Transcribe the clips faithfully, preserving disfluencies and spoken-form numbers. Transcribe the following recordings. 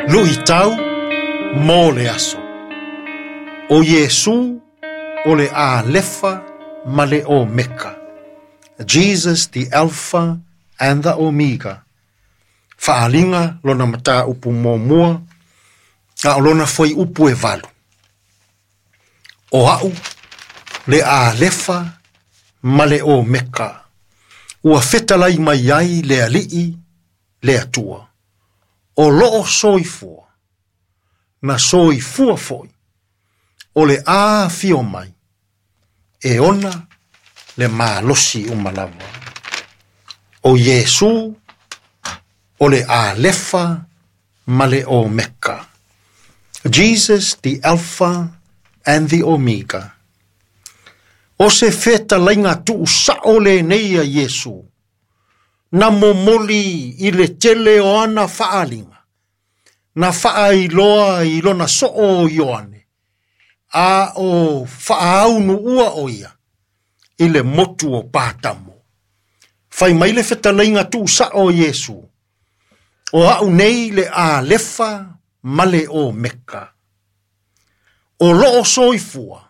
Luʻitau mo le aso. O Iesu o le Alefa ma le Omeka. Jesus the Alpha and the Omega. Faaaliga lona mataupu muamua, a o lona fuaiupu e valu. O a'u le Alefa ma le Omeka. Ua fetalai mai ai le Alii le Atua. O loo soifua, na soifua foi, o le afio mai, e ona le malosi uma lava. O Iesu, o le Alefa ma le Omeka. Jesus the Alpha and the Omega. O se fetalaiga tuusao lenei a Iesu, na momoli i le tele o ana faaaliga, na faailoa i lona soo o Ioane, a o faaunuua o ia, i le motu o Patamo. Fai mai le fetalaiga tuusao o Iesu, o a'u nei le Alefa ma le Omeka. O loo soifua,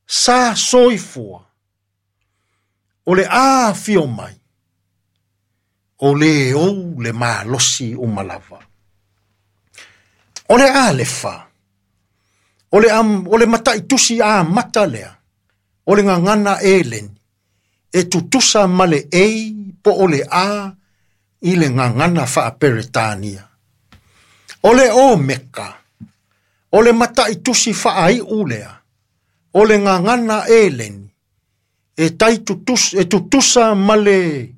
sa soifua, o le afio mai, o le ou le malosi uma lava. O le Alefa, o le, am, o le mataitusi amata lea, o le gagana eleni, e tutusa ma le A po o le A i le gagana faaperetania. O le Omeka, o le mataitusi faaiu lea, o le gagana eleni, e, tai tutus, e tutusa ma le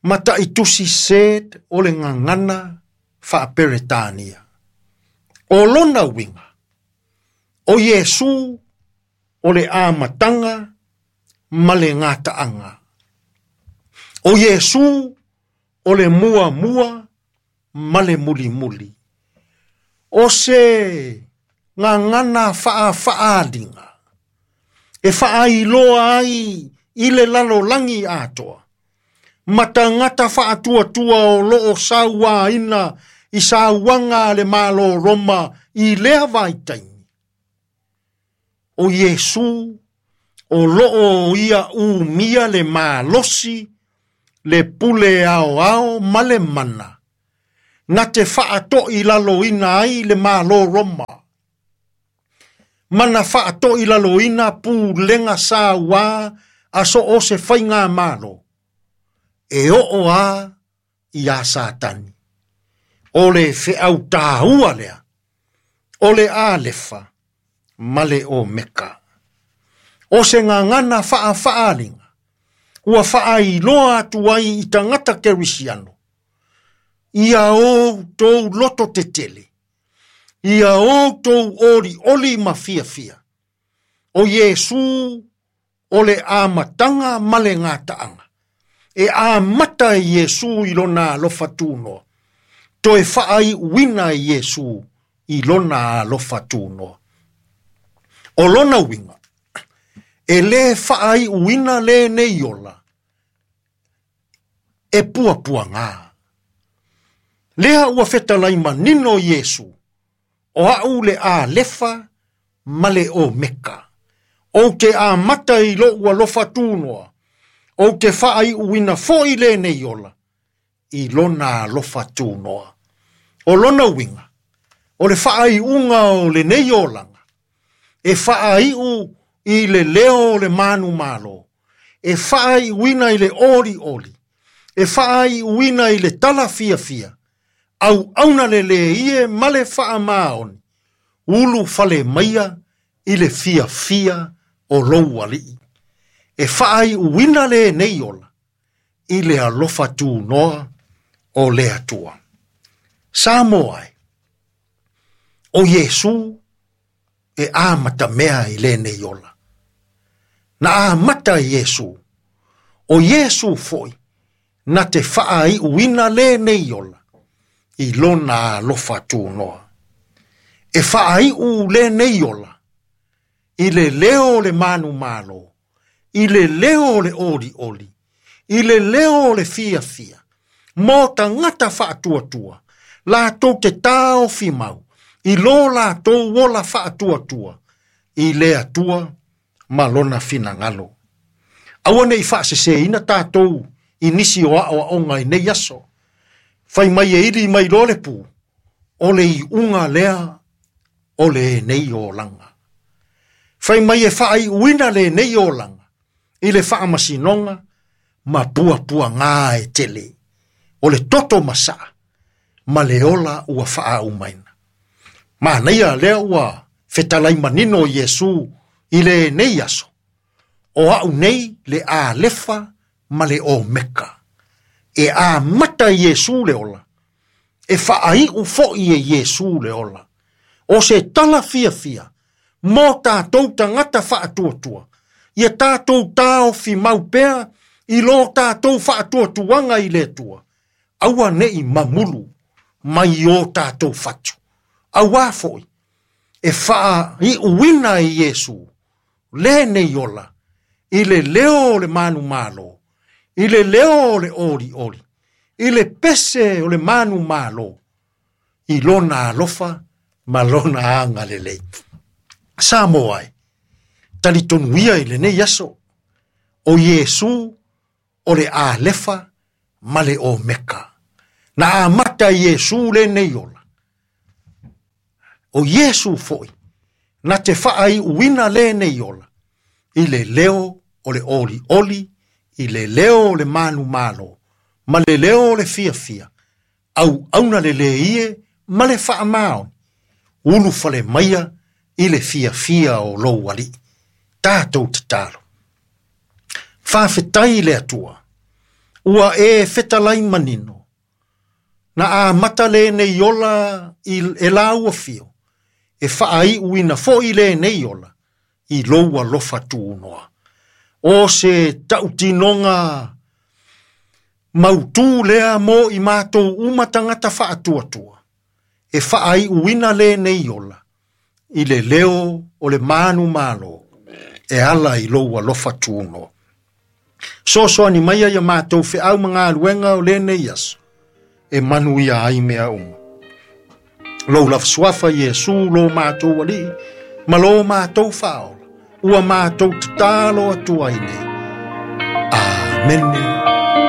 mataitusi Z o le gagana faaperetania. O lona uiga, o Iesu o le amataga ma le gataaga. O Iesu o le muamua ma le mulimuli. O se gagana faafaaliga, e faailoa ai i le lalolagi atoa. Ma tagata faatuatua o loo sauaina i sauaga a le Malo Roma i lea vaitaimi. O Iesu o loo ia umia le malosi, le pule aoao ma le mana, na te faatoilaloina ai le Malo Roma. Mana faatoilaloina pulega sauā a so o se faiga malo, e oo a ia Satani. O le feautāua lea, o le Alefa ma le Omeka. O se gagana faafaaliga, ua faailoa atu ai i tagata kerisiano, ia outou loto tetele, ia outou olioli ma fiafia. O Iesu o le amataga ma le gataaga. E amata i Iesu i lona alofa tunoa, toe faaiuina i Iesu i lona alofa tunoa. O lona uiga, e lē faaiuina lenei ola, e puapuagā. Lea ua fetalai manino Iesu, o a'u le Alefa ma le Omeka. Ou te amata i lou alofa tunoa, ou te faaiuina foi lenei ola, i lona alofa tunoa. O lona uiga, o le faaiuga o lenei olaga, e faaiu i le leo o le manumalo, e faaiuina i le olioli, e faaiuina i le talafiafia, auauna le lē ie ma le faamaoni, ulu fale maia i le fiafia o lou alii. E faaiuina lenei ola, i le alofa tunoa o le Atua. Samoa e, o Iesu e amatamea i lenei ola. Na amata Iesu, o Iesu foi, na te faaiuina lenei ola, i lona alofa tunoa. E faaiu lenei ola, i le leo o le manumalo, i le leo o le olioli, i le leo o le fiafia, mo tagata faatuatua, Latou te taofi mau i lo latou ola faatuatua i le Atua ma lona finagalo. Aua nei faaseseina tatou i nisi o aoaoga i nei aso. Fai mai e ili mai lo le pu, o le iuga lea o lenei olaga. Fai mai e faaiuina lenei olaga i le faamasinoga ma puapuaga e tele. O le toto masaa ma le ola ua faaumaina. Manaia lea ua fetalai manino Iesu i lenei aso. O au nei le Alefa ma le Omeka. E amata Iesu le ola. E faaiu foi e Iesu le ola. O se tala fiafia mo tatou tagata faatuatua. Ia tatou taofi mau pea i lo tatou faatuatuaga i le Atua. Aua nei mamulu mai o tatou fatu. Auā foi e faaiuina e Iesu lenei ola i le leo o le manumalo, i le leo o le olioli, i le pese o le manumalo, i lona alofa ma lona agalelei. Samoa e, talitonuia i lenei aso, o Iesu o le Alefa ma le Omeka. Na amata Iesu lenei ola. O Iesu foi, na te faaiuina lenei ola, i le leo o le olioli, i le leo o le manumalo, ma le leo o le fiafia, au auna le leie ma le faamaoni, ulu fale maia i le fiafia o lou alii. Tatou tatalo. Faafetai i le Atua, ua e fetalai manino, na amata lenei ola i e lau afio, e faaiuina foi lenei ola i lou alofa tunoa. O se tautinoga mautū lea mo i matou uma tagata faatuatua, e faaiuina lenei ola i le leo o le manumalo e ala i lou alofa tunoa. Sosoani maia ia matou feau ma galuega o lenei aso, e manuia ai mea uma. Lou lava suafa Iesu lo matou alii, ma lo matou faaola, ua matou tatalo atu ai nei. Amene.